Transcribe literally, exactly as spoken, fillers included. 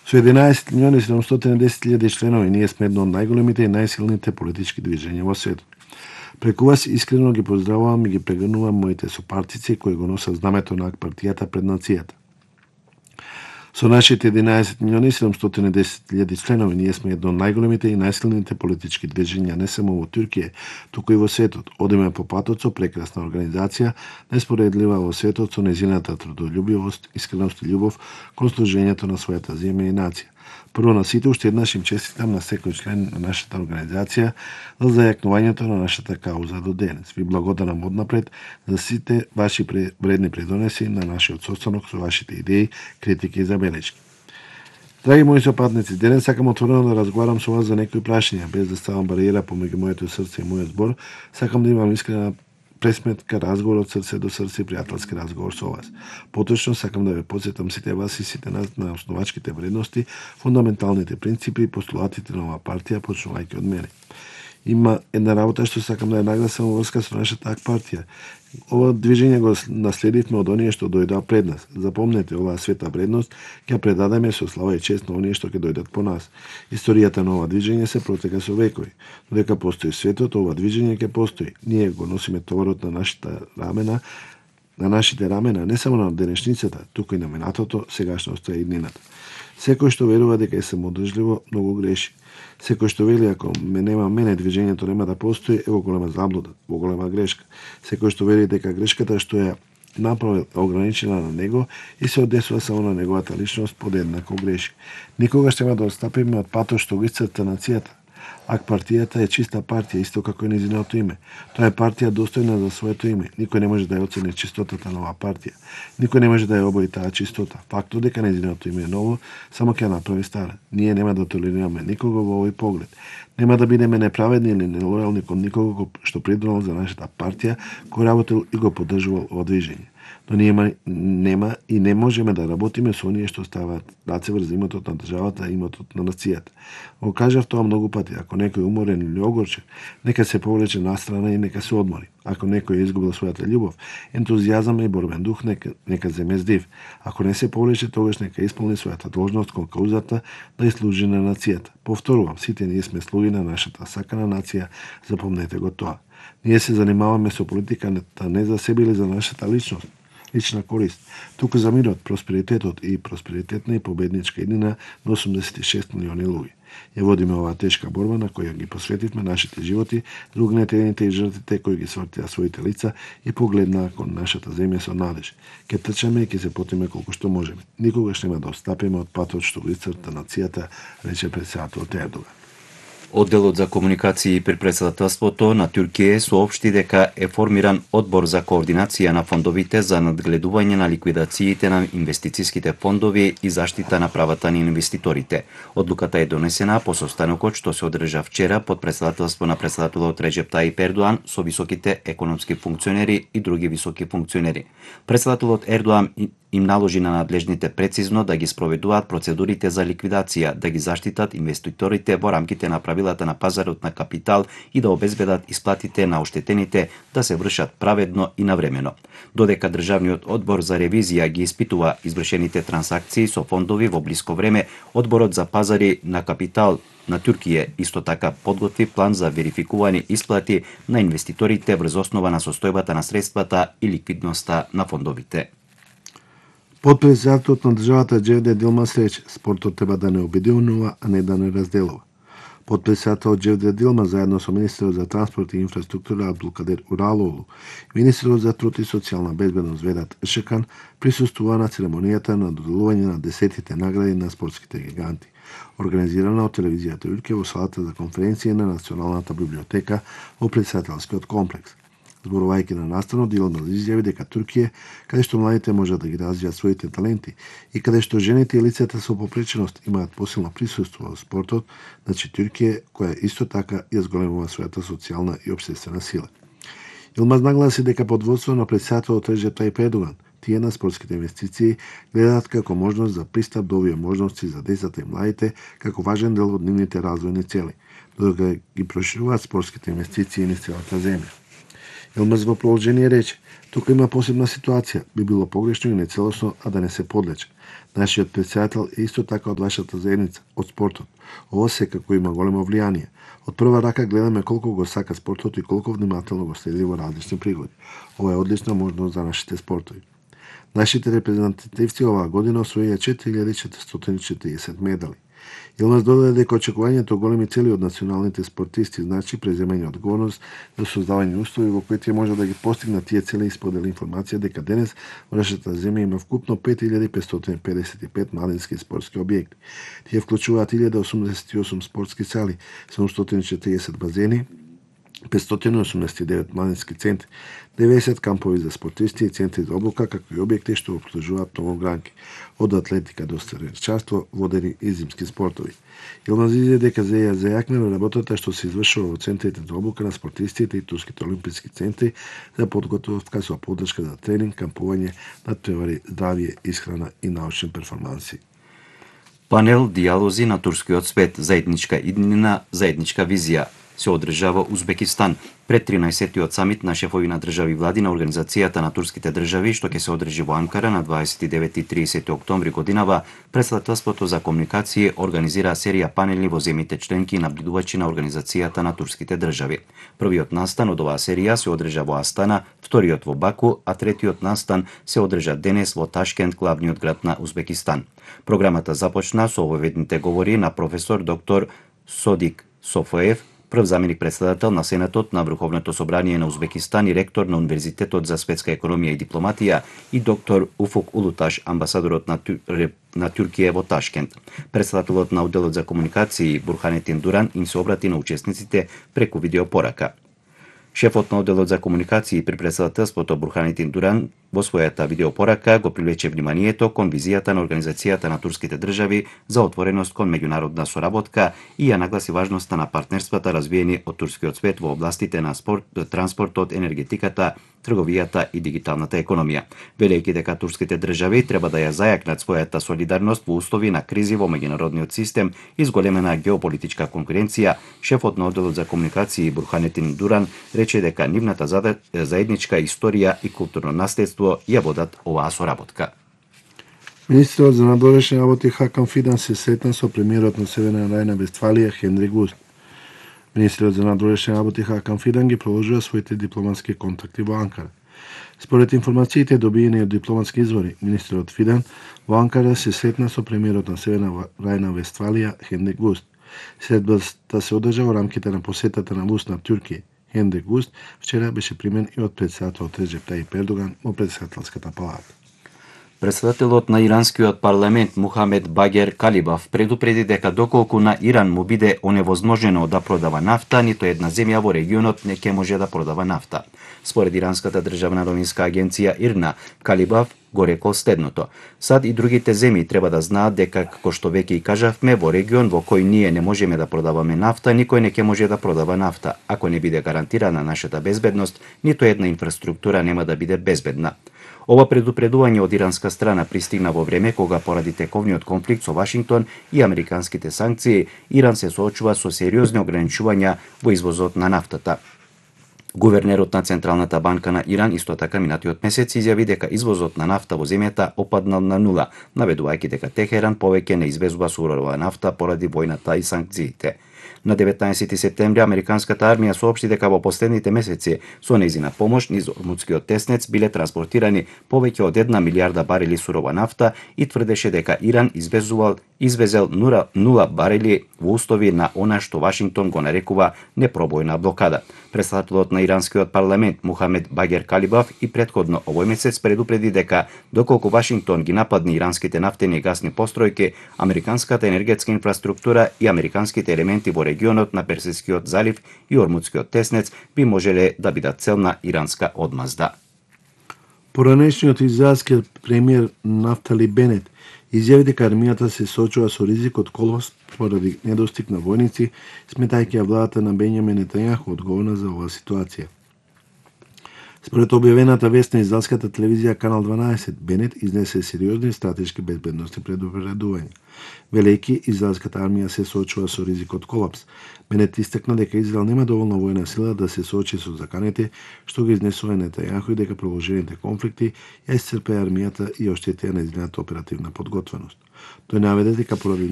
Со единаесет милиони седумстотини и десет илјади членови, ние сме едно од најголемите и најсилните политички движења во светот. Преку вас искрено ги поздравувам и ги прегрнувам моите сопартици кои го носат знамето на партијата пред нацијата. Со нашите единаесет милиони седумстотини и десет илјади членови, ние сме едно од најголемите и најсилните политички движења не само во Туркија, туку и во светот. Одиме по патот со прекрасна организација, неспоредлива во светот со нејзината трудолюбивост, искреност и љубов кон служењето на својата земја и нација. Прво на сите, уште еднаш им честитам на секој член на нашата организација за зајакнувањето на нашата кауза до денес. Ви благодарам однапред за сите ваши вредни придонеси на нашиот состанок со вашите идеи, критики и забелешки. Драги мои сопатници, денес сакам отворено да разговарам со вас за некои прашања, без да ставам бариера помеѓу моето срце и мојот збор. Сакам да имам искрена пресметка, разговор од срце до срце, пријателски разговор со вас. Поточно сакам да ве потсетам сите вас и сите нас на основачките вредности, фундаменталните принципи и постулатите на оваа партија, почнувајќи од мене. Има една работа што сакам да ја нагласам во врска со нашата ак партија. Ова движење го наследивме од оние што дојдоа пред нас. Запомнете, оваа света вредност ќе предадеме со слава и чест на оние што ќе дојдат по нас. Историјата на ова движење се протека со векови. Додека постои светот, ова движење ќе постои. Ние го носиме товарот на нашите рамена, на нашите рамена, не само на денешницата, туку и на минатото, сегашноста и иднината. Секој што верува дека е самодржливо, многу греши. Секој што вели ако ме нема мене, движењето нема да постои, е во голема заблуда, во голема грешка. Секој што вели дека грешката што ја направил ограничена на него и се одесува само на неговата личност, подеднако греши. Никогаш нема да отстапиме од патот што го исцрта нацијата. Ак партијата е чиста партија, исто како и нејзиното име. Тоа е партија достојна за своето име. Никој не може да ја оцени чистотата на оваа партија. Никој не може да ја обои таа чистота. Фактот дека нејзиното име е ново, само ќе направи стара. Ние нема да толерираме никого во овој поглед. Нема да бидеме неправедни или нелојални кон никого што придонел за нашата партија, кој работел и го поддржувал ова движење. Но ние нема и не можеме да работиме со оние што ставаат раце врз имотот на државата и имотот на нацијата. Го кажав тоа многу пати, ако некој е уморен или огорчен, нека се повлече настрана и нека се одмори. Ако некој е изгубил својата љубов, ентузијазам и борбен дух, нека, нека земе здив. Ако не се повлече, тогаш нека исполни својата должност кон каузата да ја служи на нацијата. Повторувам, сите ние сме слуги на нашата сакана нација, запомнете го тоа. Ние се занимаваме со политиката не за себе или за нашата личност, лична корист, туку за мирот, просперитетот и просперитетна и победничка иднина на осумдесет и шест милиони луѓе. Ја водиме оваа тешка борба на која ги посветивме нашите животи за угнетените и жртвите кои ги свртеа своите лица и погледнаа кон нашата земја со надеж. Ке трчаме и ке се потиме колку што можеме. Никогаш нема да отстапиме од патот што го исцрта нацијата, рече претседателот Ердоган. Одделот за комуникации при претседателството на Туркија соопшти дека е формиран одбор за координација на фондовите за надгледување на ликвидациите на инвестициските фондови и заштита на правата на инвеститорите. Одлуката е донесена по состанокот што се одржа вчера под претседателство на претседателот Реджеп Таип Ердоан со високите економски функционери и други високи функционери. Претседателот Ердоан им наложи на надлежните прецизно да ги спроведуваат процедурите за ликвидација, да ги заштитат инвеститорите во рамките на правилата на пазарот на капитал и да обезбедат исплатите на оштетените да се вршат праведно и навремено. Додека Државниот одбор за ревизија ги испитува извршените трансакции со фондови во блиско време, Одборот за пазари на капитал на Туркија исто така подготви план за верификувани исплати на инвеститорите врз основа на состојбата на средствата и ликвидноста на фондовите. Подпредседателот на државата Џевдет Илмаз рече, спортот треба да не обединува, а не да не разделува. Подпредседателот Џевдет Илмаз заедно со министерот за транспорт и инфраструктура Абдулкадер Уралоглу и министерот за труд и социјална безбедност Ведат Ишакан присуствува на церемонијата на доделување на десетите награди на спортските гиганти, организирана од телевизијата Ülke во салата за конференции на Националната библиотека во претседателскиот комплекс. Зборувајќи на настанот, Илмаз изјави дека Туркија, каде што младите можат да ги развијат своите таленти и каде што жените и лицата со попреченост имаат посилно присуство во спортот, значи Туркија, која исто така ја зголемува својата социјална и општествена сила. Илмаз нагласи дека под водство на претседателот Реджеп Таип Ердоган, тие на спортските инвестиции гледаат како можност за пристап до овие можности за децата и младите како важен дел од нивните развојни цели, додека ги прошируваат спортските инвестиции низ целата земја. Илмаз во продолжение рече: тука има посебна ситуација, би било погрешно и нецелосно, а да не се подлече. Нашиот председател е исто така од вашата заедница, од спортот. Ова секако има големо влијание. Од прва рака гледаме колку го сака спортот и колку внимателно го следи во различни пригоди. Ова е одлична можност за нашите спортови. Нашите репрезентативци оваа година освоија четири илјади четиристотини и четиридесет медали. Илмаз додаде дека очекувањето големи цели од националните спортисти значи преземање одговорност за создавање услови во кои тие може да ги постигнат тие цели и сподели информација дека денес во нашата земја има вкупно пет илјади петстотини педесет и пет младински спортски објекти. Тие вклучуваат илјада осумдесет и осум спортски сали, седумстотини и четиридесет базени, петстотини и осумдесет и девет младински центри, деветдесет кампови за спортисти и центри за обука, како и објекти што обслужуваат многу гранки, од атлетика до стрелчарство, водени и зимски спортови. Илмаз изјави дека се ја зајакнува работата што се извршува во центрите за обука на спортистите и турските олимписки центри за подготовка со поддршка за тренинг, кампување, натпревари, здравје, исхрана и научни перформанси. Панел дијалози на турскиот свет, заедничка иднина, заедничка визија се одржава Узбекистан пред тринаесеттиот самит на шефови на држави влади на Организацијата на турските држави, што ќе се одржи во Анкара на дваесет и девети и тридесети октомври годинава. Претставителството за комуникација организира серија панели во земјите членки и набљудувачи на Организацијата на турските држави. Првиот настан од оваа серија се одржа во Астана, вториот во Баку, а третиот настан се одржа денес во Ташкент, главниот град на Узбекистан. Програмата започна со овојдните говори на професор доктор Содик Софоев, прв заменик председател на Сенатот на Врховното собрание на Узбекистан и ректор на Универзитетот за светска економија и дипломатија, и доктор Уфук Улуташ, амбасадорот на, Тюр... на Тюркија во Ташкент. Председателот на Одделот за комуникации Бурханетин Дуран им се обрати на учесниците преку видеопорака. Шефот на Одделот за комуникации при председателството Бурханетин Дуран во својата видеопорака го привлече вниманието кон визијата на Организацијата на турските држави за отвореност кон меѓународна соработка и ја нагласи важноста на партнерствата развиени од турскиот свет во областите на спорт, транспортот, енергетиката, трговијата и дигиталната економија, велејќи дека турските држави треба да ја зајакнат својата солидарност во услови на кризи во меѓународниот систем и зголемена геополитичка конкуренција. Шефот на Одделот за комуникации Бурханетин Дуран рече дека нивната заедничка историја и културно наследство ја водат оваа соработка. Министерот за надворешни работи Хакан Фидан се сретна со премиерот на Северна Рајна-Вестфалија Хенрик Вуст. Министерот за надворешни работи Хакан Фидан ги продолжува своите дипломатски контакти во Анкара. Според информациите добиени од дипломатски извори, министерот Фидан во Анкара се сретна со премиерот на Северна Рајна-Вестфалија Хенрик Вуст. Средбата се одржа во рамките на посетата на Вуст на Туркија. Хенрик Вуст вчера беше примен и од председателот Реджеп Тајип Ердоган во председателската палата. Председателот на иранскиот парламент Мухамед Багер Калибав предупреди дека доколку на Иран му биде оневозможено да продава нафта, ниту една земја во регионот не ќе може да продава нафта. Според иранската државна новинска агенција ИРНА, Калибав го рекол следното: Сад и другите земји треба да знаат дека, како што веќе и кажавме, во регион во кој ние не можеме да продаваме нафта, никој не ќе може да продава нафта. Ако не биде гарантирана нашата безбедност, ниту една инфраструктура нема да биде безбедна. Ова предупредување од иранска страна пристигна во време кога поради тековниот конфликт со Вашингтон и американските санкции, Иран се соочува со сериозни ограничувања во извозот на нафтата. Гувернерот на Централната банка на Иран исто така минатиот месец изјави дека извозот на нафта во земјата опаднал на нула, наведувајќи дека Техеран повеќе не извезува сурова нафта поради војната и санкциите. На деветнаесети септември американската армија соопшти дека во последните месеци со нејзина помош низ Ормудскиот теснец биле транспортирани повеќе од една милијарда барели сурова нафта и тврдеше дека Иран извезувал извезел нула барели во услови на она што Вашингтон го нарекува непробојна блокада. Председателот на иранскиот парламент Мухамед Багер Калибав и претходно овој месец предупреди дека доколку Вашингтон ги нападне иранските нафтени и гасни постројки, американската енергетска инфраструктура и американските елементи во регионот на Персискиот залив и Ормудскиот теснец би можеле да бидат цел на иранска одмазда. Поранешниот израелски премиер Нафтали Бенет изјави дека армијата се соочува со ризик од колапс поради недостиг на војници, сметајќи ја владата на Бенјамин Нетањаху одговорна за оваа ситуација. Според објавената вест на израелската телевизија Канал дванаесет, Бенет изнесе сериозни стратешки безбедности предупредувања. Велејќи израелската армија се соочува со ризик од колапс. Бенет истакна дека Израел нема доволно војна сила да се соочи со заканите што ги изнесува Нетањаху и дека продолжените конфликти ја исцрпеа армијата и оштетија нејзината оперативна подготвеност. Тој наведе дека поради